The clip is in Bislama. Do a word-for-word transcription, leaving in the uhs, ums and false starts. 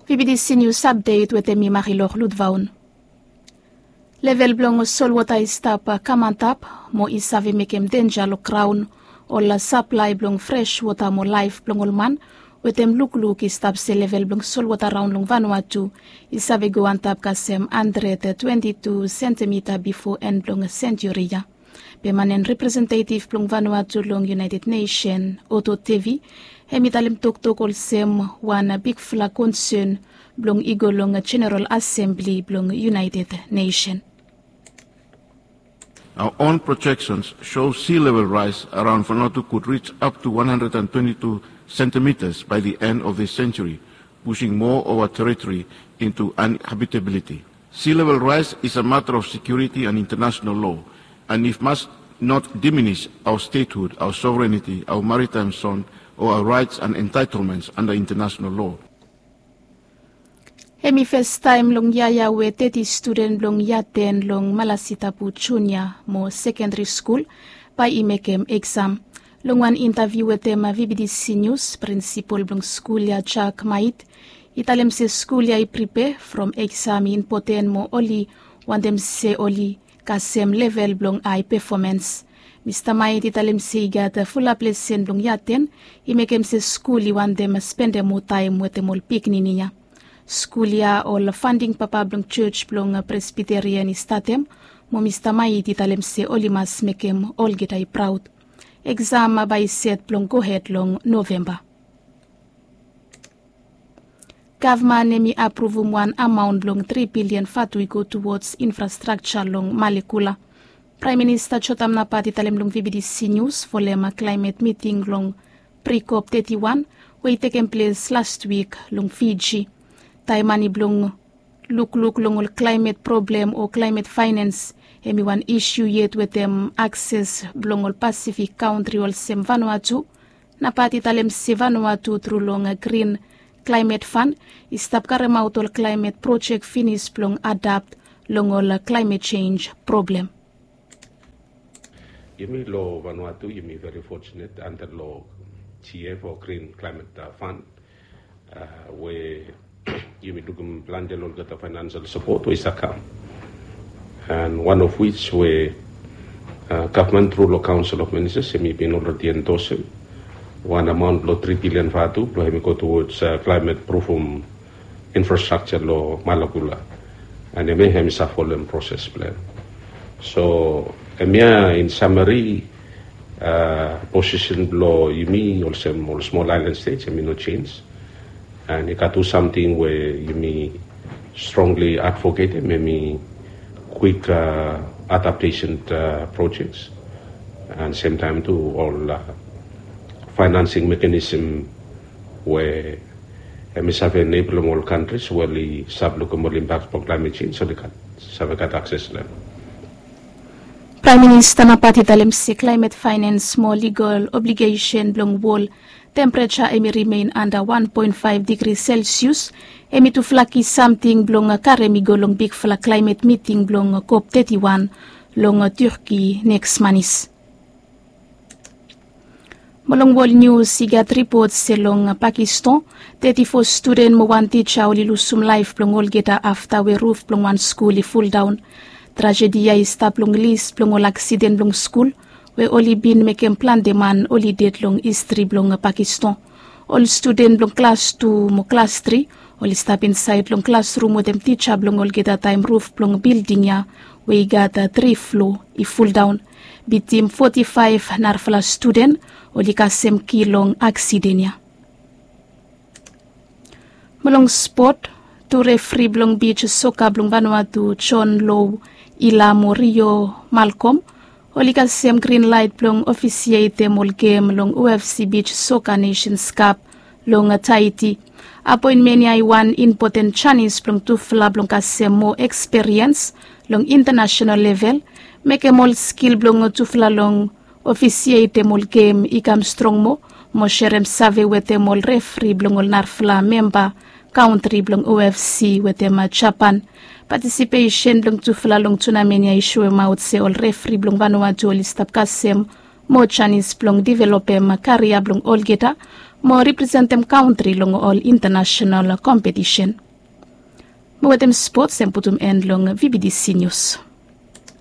Vibidisi nius apdet wetem mi Marilor Ludvaun. Level blong solwota i stap kam antap mo i save mekem denja long graon, ol saplae blong fres wota mo laef blong ol man wetem lukluk i stap se level blong solwota raon long Vanuatu i save go antap kasem handred twenti tu sentimita bifo en blong senjuri ya. Be man en representetiv blong Vanuatu long United Nation, Oto Tevi, hem i talem toktok olsem wan bigfala konsen blong i go long Jeneral Asembli blong United Nation. Our own projections show sea level rise around Vanuatu could reach up to one hundred and twenty-two centimeters by the end of this century, pushing more of our territory into uninhabitability. Sea level rise is a matter of security and international law, and it must not diminish our statehood, our sovereignty, our maritime zone, or our rights and entitlements under international law. Hem i fes taem long yia ya we teti studen blong yia ten long Malasitapu Junia mo Sekendari Skul bae i mekem eksam. Long wan intaviu wetem Vibidisi Nius, prinsipol blong skul ya, Jack Mait, i talem se skul ya i pripea from eksam i impoten mo oli wantem se oli kasem level blong ae pefomans. Mista Mait i talem se i gat fulap lesen blong yia ten i mekem se skul i wantem spendem moa taem wetem ol pikinini ya. Skul ya ol fanding papa blong jos blong Presbiterian i statem, mo Mista Mait i talem se oli mas mekem olgeta i praod. Eksam bae i set blong gohed long Novemba. Gavman hem i apruvum wan amaon blong tri bilian vatu i go tuwods infrastrakja long Malekula. Praem Minista Jotam Napat i talem long Vibidisi Nius folem klaemet miting long Prikop teti wan we i tekem ples lastwik long Fiji. Taem mane blong lukluk long ol klaemet problem o klaemet faenans hem i wan isiu yet wetem akses blong ol Pasifik kantri olsem Vanuatu. Napat i talem se Vanuatu tru long grin klaemet fan i stap karemaot ol klaemet projek finis blong adapt long ol klaemet jenj problem. Yumi long Vanuatu yumi very fortunate anda long G F o Green Climate Fund we yumi lukim plante long olgeta financial support we i save kam. And one of which we gavman tru long Council of Ministers yumi bin already endorse him wan amount blong tri bilian vatu blong hem i go towards climate proofum infrastructure long Malakula. And hemia hem i save folem proses blong hem. So hemia in summary posisen blong yumi olsem ol small island states hem i no change. And i gat tu samting we yumi strongly advocatem hem i quick adaptation projects. And same time tu ol financing mechanism we hem i save enablim ol kantris we oli save lukim ol impaks blong climate change oli gat save gat akses long hem. Praem Minista Napat i talem se klaemet faenans mo ligol obligesen blong wol tempereja hem i rimen anda wan poen faef digri Celsius hem i tufala ki samting blong karem i go long bigfala klaemet miting blong COP teti wan long Turki neks manis. Mo long wol nius i gat ripot se long Pakistan teti fo studen mo wan tija oli lusum laef blong olgeta afta we ruf blong wan skul i fuldaon. Trajedi ya i stap long lis blong ol aksiden blong skul we oli bin mekem plante man oli ded long histri blong Pakistan. Ol studen blong klas tu mo klas tri oli stap insaed long klasrum wetem tija blong olgeta taem ruf blong bilding ya we i gat tri flo i fuldaon. Bitim foti faef narafala studen oli kasem kil long aksiden ya. Mo long spot, tu refri blong bij soka blong Vanuatu, John Low, Ila mo Rio Malcolm, oli kasem grin laet blong ofisietem ol gem long U F C bij soka Nations Cup long Tahiti. Apoenmen ya i wan impoten janis blong tufala blong kasem moa eksperiens long intanasenal level, mekem ol skil blong tufala long ofisietem ol gem i kam strong moa, mo serem save wetem ol refri blong ol narafala memba kantri blong U F C wetem Japan. Patisipesen blong tufala long tunamen ya i soemaot se ol refri blong Vanuatu oli stap kasem moa janis blong developem karia blong olgeta mo representem kantri long ol intanasenal kompetisen. Mo wetem spots em putum en long vbtc nius.